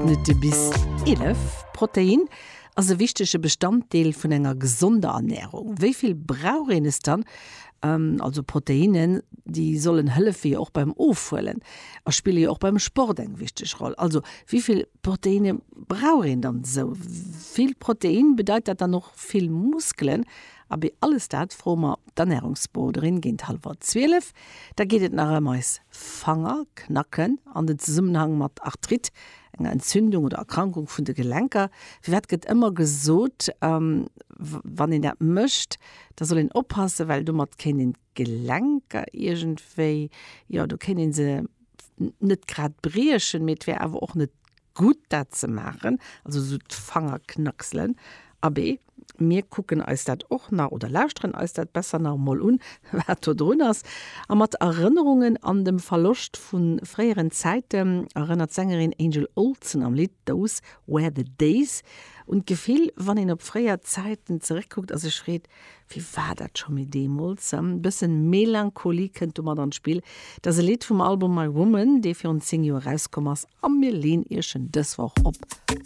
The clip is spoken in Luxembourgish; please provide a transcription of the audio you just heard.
Minutte bis 11. Protein ass e wichtege Bestanddeel vun enger gesonder Ernärung. Wéi vill brauch een es dann? Also Proteinnen, déi sollen hëllefe jo och beim Ofhuelen a spille jo och beim Sport eng wichteg Roll. Also wéi vill Proteinne brauch een dann esou? Vill Protein, bedeit dat dann och vill Muskelen? Abee, alles dat froe mer d'Ernärungsberoderin géint hallwer 12. Da geet et nach ëm eis Fanger, Knacken an den Zesummenhang mat Arthrite, enger Entzündung oder Erkrankung vun de Gelenker. Firwat gëtt ëmmer gesot, wann een dat mécht, da soll een oppassen, well domat kéint een d'Gelenker iergendwéi, jo, do kéint ee se net grad briechen, mee et wär awer och net gutt dat ze maachen, also esou d'Fangerknackselen. Abee, mir kucken eis dat och nach oder lauschteren eis dat besser nach emol un, wat do drun ass. A mat Erënnerungen an dem Verloscht vu fréieren Zäiten erënnert d'Sängerin Angel Olsen am Lidd Those Were The Days un d'Gefill, wann een op fréier Zäiten zeréckkuckt a sech freet, Wéi war dat scho méi deemools? E bëssen Melancholie kënnt domat an d'Spill. Dat ass e Lidd vum Album My Woman, dee virun 10 Joer erauskomm ass a mir leen iech en dës Woch op.